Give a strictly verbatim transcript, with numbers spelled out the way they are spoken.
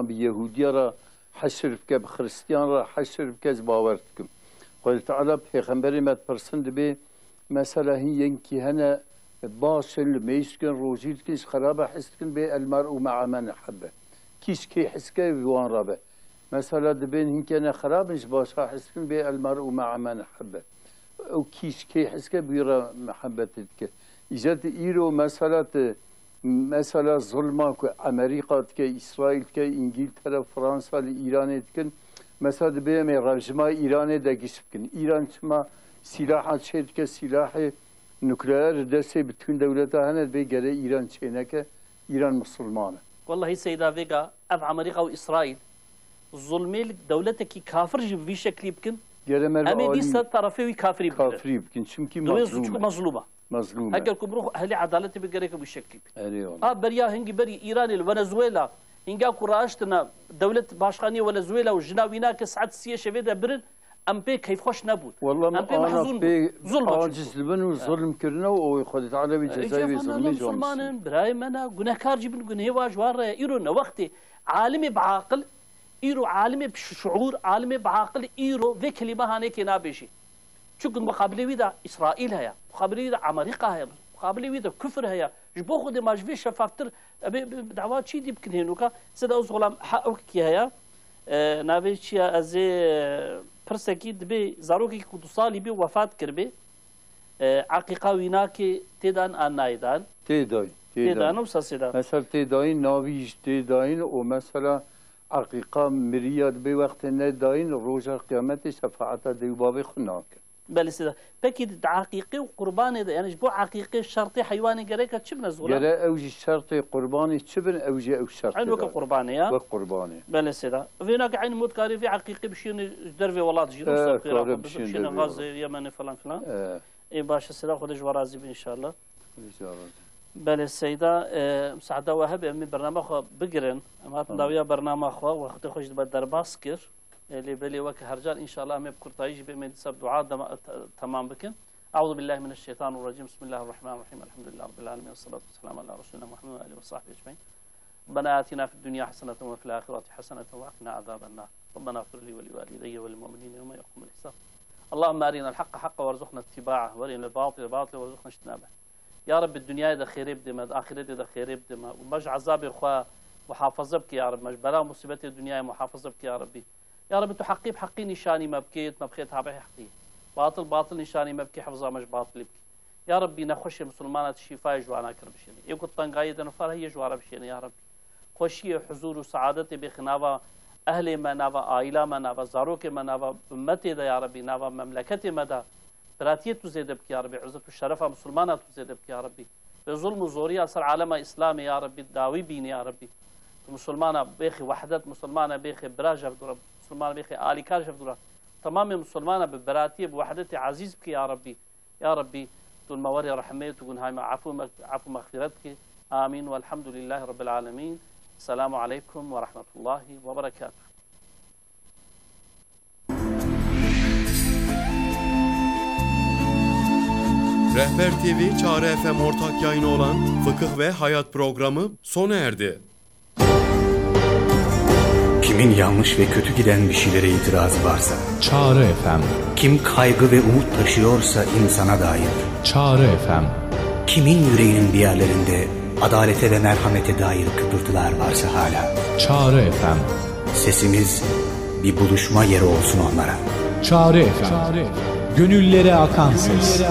Bi Yehûdiya re heşir bike, bi Xiristiyan re heşir bike, ez bawer dikim. Xwedê Teala pêxemberê me dipirsin, dibê mesela hîn yekî hene baş in, li mêj dikin, rojî dikin, ji xerabe hez dikin, bê el mer'u me'a men ehebbe. Kî ji kê hez ke, bi wan re be. Mesela dibên hinkê ne xerab in, ji başa hez dikin, bê el mer'u me'a men ehebbe. Ew kî ji kê hez ke, bi wî re mihebetê dike. Îcar tu îro mesela tu, mesela zulma ku Amerîka dike, Îsraîl dike, Îngîltere, Fransa li Îranê dikin. Mesela dibê em ê rejima Îranê de giş bikin. Îran çima sîlaha çê dike, sîlahê nukleer li destê bitûn dewleta hene, dibê gere Îran çê neke, Îran misilman e. Wellahî Seyda Vêga, ev Amerîka û Îsraîl zulmê li dewletekî kafir jî bi vî şeklî bikin, Gere me em ê alî dîsa tarafê wî kafirî bigirin. Kafirî bikin, çimkî Diwê mezlûm e. Suçku mezlûm e. Mezlûm e. Heger ku mirov ehlî edaletê bigere ke wî şeklî bikin. Erê wala. A beriya hingî berî Îranê li Venezuela, hingî ku raştine dewlet başkaniyê Venezuela û jina wî nake saet siyê şevê de birin, em pê keyfxweş nebûn. Wala em pê ana mehzûn bûn. Pê Zulm aciz dibin û zulm kirine û Xwedê Teala wê cezayê wê zulmê ji wan bisin. Musulman in, birayê me ne, gunehkar jî bin, gunehê wa ji wan re ye. Îro ne wextê alimê bi aqil, îro alimê bi şuur, alimê bi aqil îro vê kelîme hanekê nabêjî. Çunku muqabilê wî de Îsraîl heye, muqabilê wî de Amerîka heye, muqabilê wî de kufir heye. Ji bo Xwedê ma ji vê şefaftir, em ê bi, bi dawa çî dî bikin hênoka? Seyda Oxolam, ha ew kî heye? E, navê çi ye? Ez ê, e, pirsekî dibê zarokekî ku du salî bî wefat kiribê. E, eqîqa wî nakê tê dan an nayê dan? Tê dayîn, tê Tê dan dayîn. Wisa sê dan? Mesela tê dayîn, navî jî tê dayîn û mesela eqîqa miriya dibê wextê nedayîn, roja qiyametê şefaeta dê û bavê xwe nake. Belê sê dan. Pekî di eqîqê û qurbanê de, yani ji bo eqîqê şertê heywanê gereke çi bine zora? Gere ew jî şertê qurbanê çi bin, ew jî ew şertê Eyn weke da. Qurbanê ya? Wek qurbanê. Belê sê dan. Vêna ke eyn mot karê vê eqîqê bişîne ji dervê welat jî, Eh, wisa kare xêra xwe bişîne bişîne dervê Gazê, welat. Yemenê falan filan. Eh. Ê baş e, Seyda, Xwedê ji we razî be înşallah. Xwedê ji we razî. Belê Seyda, e, misaada we hebe, em ê bernama xwe bigirin. Em hatin Tamam. dawiya bernama xwe, wextê xwe jî dibe derbas kir. E, lê belê weke her car înşallah em ê bi kurtayî jî bê em ê dîsa bi dua dema-, te-, temam bikin. Euzu billahi mineşşeytanirracim. Bismillahirrahmanirrahim. Elhamdülillahi rabbil alemin. Esselatu wesselamu ala resulina Muhammed ve alihi ve sahbihi ecmaîn. ربنا آتنا في الدنيا حسنة وفي الآخرة حسنة وقنا عذاب النار. ربنا اغفر لي ولوالدي وللمؤمنين يوم يقوم الحساب. اللهم أرنا الحق حقا وارزقنا اتباعه وأرنا الباطل باطلا وارزقنا اجتنابه. Ya Rabbi, dinyayê de xêrê bidê me, di axiretê de xêrê bidê me. Û me ji ezabê xwe muhafaza bike ya Rabbi. Me ji bela musîbetê dinyayê muhafaza bike ya Rabbi. Ya Rabbi, tu heqî bi heqî nîşanî me bikê, me bixê tabî heqî. Batil, batil nîşanî me bikê, hifza me ji batilî bikê. Ya Rabbî, nexweşê misilmana tu şîfayê ji wana kir bişênê. Ê ku tengayê de nifar heye ji wana bişênê ya Rabbî. Xweşiyê, huzûr û seadetê bêxî nava ehlê me, nava aîla me, nava zarokê me, nava ummetê de ya Rabbî, nava memleketê me de biratiyê tu zêde bikî ya Rabbî, izzet û şerefa misilmana tu zêde bikî ya Rabbî. Vê zulm û zoriya ser alema Îslamê ya Rabbî dawî bînî ya Rabbî. Tu misilmana bêxî wehdet, misilmana bêxî bira ji hev dû re, misilmana bêxî alîkar ji hev dû re. Temamê misilmana bi biratiyê, bi wehdetê ezîz bikî ya Rabbî. Ya Rabbî, tu li me werê rehmê, tu gunhay me efû me, efû mexfîret bikî. Amîn. Welhamdulîllahî Rabbil Alemîn. Selamu aleykum ve rahmetullahî ve berekatuhu. Rehber T V Çağrı F M ortak yayını olan Fıkıh ve Hayat programı sona erdi. Kimin yanlış ve kötü giden bir şeylere itirazı varsa, Çağrı F M. Kim kaygı ve umut taşıyorsa insana dair, Çağrı F M. Kimin yüreğinin bir yerlerinde adalete ve merhamete dair kıpırtılar varsa hala, Çağrı F M. Sesimiz bir buluşma yeri olsun onlara. Çağrı F M. Gönüllere akan ses.